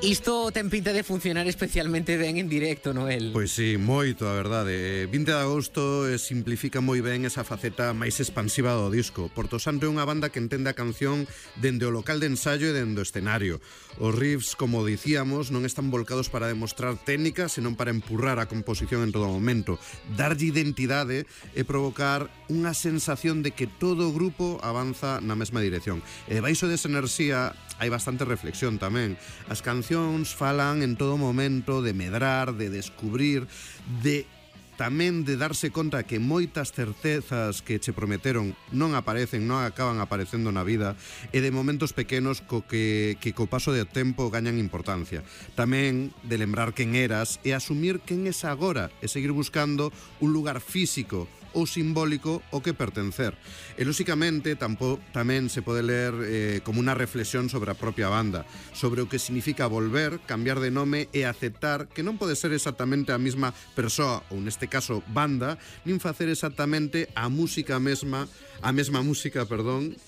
Isto ten pinta de funcionar especialmente ben en directo, Noel. Pois sí, moito, a verdade. 20 de agosto simplifica moi ben esa faceta máis expansiva do disco. Porto Santo é unha banda que entende a canción dende o local de ensaio e dende o escenario. Os riffs, como dicíamos, non están volcados para demostrar técnica, senón para empurrar a composición en todo momento, darlle identidade e provocar unha sensación de que todo o grupo avanza na mesma dirección. E baixo desa enerxía hai bastante reflexión tamén. As cancións falan en todo momento de medrar, de descubrir, tamén de darse conta que moitas certezas que che prometeron non aparecen, non acaban aparecendo na vida, e de momentos pequenos que co paso do tempo gañan importancia. Tamén de lembrar quen eras e asumir quen es agora e seguir buscando un lugar físico ou simbólico ao que pertencer. E, lóxicamente, tamén se pode ler como unha reflexión sobre a propia banda, sobre o que significa volver, cambiar de nome e aceptar que non pode ser exactamente a mesma persoa, ou neste caso banda, nin facer exactamente a mesma música,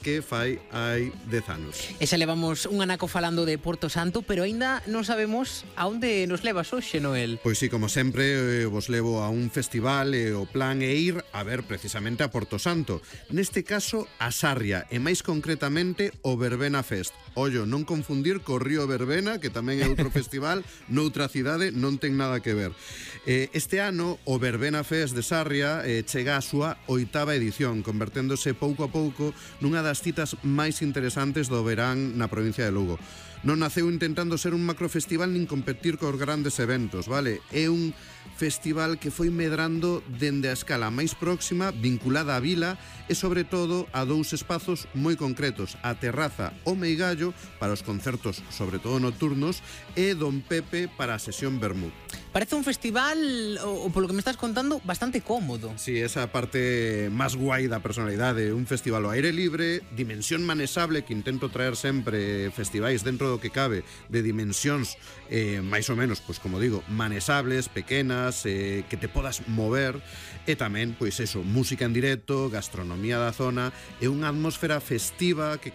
que fai hai 10 anos. E xa levamos un anaco falando de Porto Santo, pero aínda non sabemos a onde nos levas hoxe, Noel. Pois sí, como sempre, vos levo a un festival e o plan é ir a ver precisamente a Porto Santo. Neste caso, a Sarria, e máis concretamente o Verbena Fest. Ollo, non confundir co Río Verbena, que tamén é outro festival noutra cidade, non ten nada que ver. Este ano, o Verbena Fest de Sarria chega á súa 8ª edición, converténdose pouco a pouco nunha das citas máis interesantes do verán na provincia de Lugo. Non naceu intentando ser un macrofestival nin competir cos grandes eventos, vale? É un festival que foi medrando dende a escala máis próxima, vinculada á vila e, sobre todo, a dous espazos moi concretos, a terraza O Meigallo para os concertos, sobre todo nocturnos, e Don Pepe para a sesión vermú. Parece un festival, o polo que me estás contando, bastante cómodo. Sí, esa parte máis guai da personalidade. Un festival ao aire libre, dimensión manesable, que intento traer sempre festivais dentro do que cabe, de dimensións máis ou menos, pois como digo, manesables, pequenas, que te podas mover, e tamén, pois eso, música en directo, gastronomía da zona, e unha atmosfera festiva que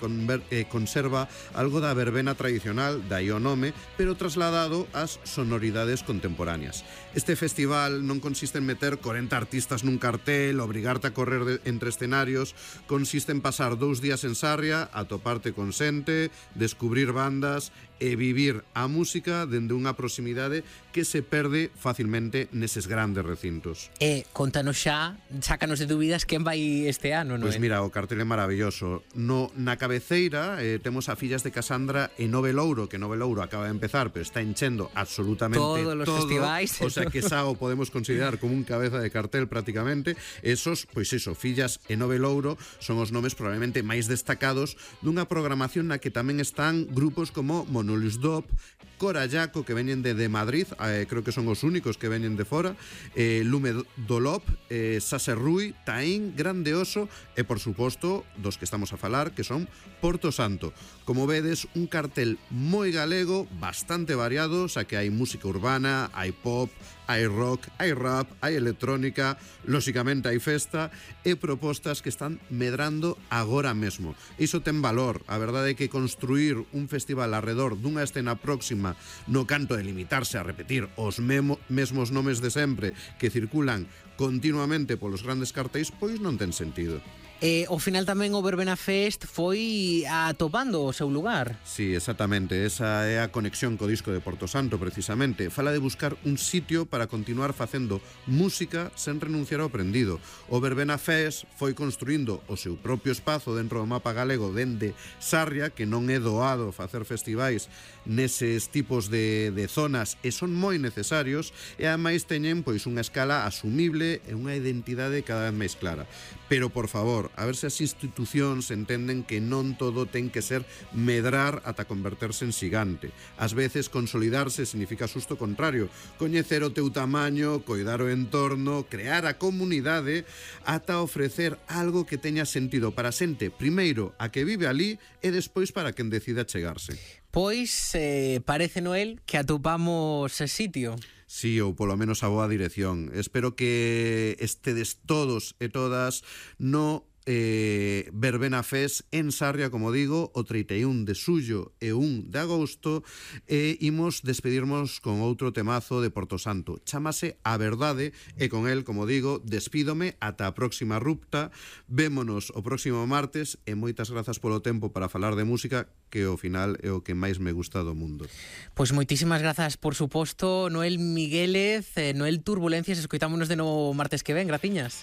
conserva algo da verbena tradicional, dai o nome, pero trasladado ás sonoridades contemporáneas. Este festival non consiste en meter 40 artistas nun cartel, obrigarte a correr entre escenarios, consiste en pasar 2 días en Sarria, atoparte con xente, descubrir bandas e vivir a música dende unha proximidade que se perde facilmente neses grandes recintos. E contanos xa, sácanos de dúbidas quen vai este ano, non? Pois mira, o cartel é maravilloso. Na cabeceira temos a Fillas de Casandra e Nove Louro, que Nove Louro acaba de empezar, pero está enchendo absolutamente todos os festivais. O sea que xa o podemos considerar como un cabeza de cartel prácticamente. Esos, pois eso, Fillas e Nove Louro son os nomes probablemente máis destacados dunha programación na que tamén están grupos como Monolus Dop, Corallaco, que veñen de Madrid, creo que son os únicos que veñen de fora, Lume Dolop, Sase Rui, Taín, Grande Oso e, por suposto, dos que estamos a falar, que son Porto Santo. Como vedes, un cartel moi galego, bastante variado, xa que hai música urbana, hai pop, hai rock, hai rap, hai electrónica, lóxicamente hai festa e propostas que están medrando agora mesmo. Iso ten valor. A verdade é que construir un festival alrededor dunha escena próxima no canto de limitarse a repetir os mesmos nomes de sempre que circulan continuamente polos grandes cartéis, pois non ten sentido. Ao final tamén o Verbena Fest foi atopando o seu lugar. Sí, exactamente, esa é a conexión co disco de Porto Santo, precisamente. Fala de buscar un sitio para continuar facendo música sen renunciar ao aprendido. O Verbena Fest foi construindo o seu propio espazo dentro do mapa galego dende Sarria, que non é doado facer festivais neses tipos de zonas e son moi necesarios, e ademais teñen pois unha escala asumible e unha identidade cada vez máis clara. Pero, por favor, a ver se as institucións entenden que non todo ten que ser medrar ata converterse en xigante. Ás veces, consolidarse significa xusto o contrario, coñecer o teu tamaño, coidar o entorno, crear a comunidade, ata ofrecer algo que teña sentido para a xente, primeiro a que vive ali e despois para quen decida chegarse. Pois parece, Noel, que atopamos ese sitio. Sí, ou polo menos a boa dirección. Espero que estedes todos e todas no Verbena Fest en Sarria, como digo, o 31 de xullo e 1 de agosto, e imos despedirnos con outro temazo de Porto Santo. Chámase A Verdade, e con el, como digo, despídome ata a próxima rupta. Vémonos o próximo martes, e moitas grazas polo tempo para falar de música, que ao final é o que máis me gusta do mundo. Pois moitísimas grazas, por suposto, Noel Miguélez, Noel Turbulencias, escoitámonos de novo martes que ven, graciñas.